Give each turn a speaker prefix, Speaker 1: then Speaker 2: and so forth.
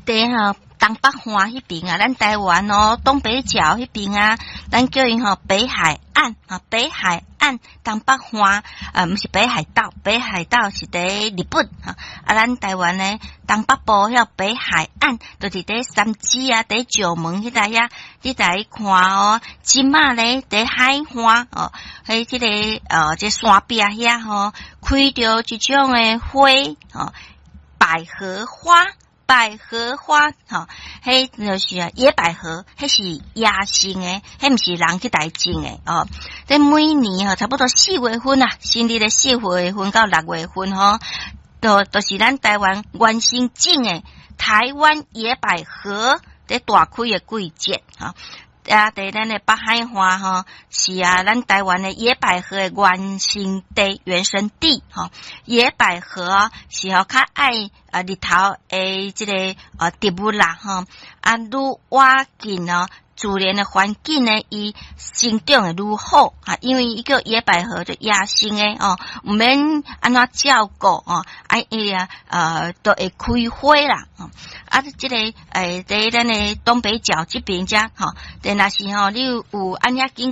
Speaker 1: 佇吼東北岸彼邊啊，咱台灣哦，東北角彼邊啊，咱叫伊吼北海岸啊，北海岸東北岸啊，毋是北海道，北海道是佇日本哈。啊，咱台灣呢，東北部遐北海岸，就是佇三芝啊，佇石門彼帶遐，你來看哦，這馬咧佇海岸哦，喺這個這山壁遐吼，開著這種的花吼，百合花。百合花，吼，彼就是啊，野百合，彼是野生的，彼毋是人去共種的哦。這每年吼，差不多四月份啊，新曆的四月份到六月份吼，都是咱台灣原生種的台灣野百合佇大開的季節，吼。啊，佇咱的北海岸吼，是啊，咱台灣的野百合的原生地、原生地吼。野百合是吼較愛啊日頭的這個啊植物啦吼，啊，愈倚近哦自然的環境呢，伊生長會愈好啊，因為伊叫野百合就野生的哦，毋免按怎照顧哦，啊伊啊都會開花啦。啊，這個佇咱的東北角這邊遮吼，若是吼你有按遐經。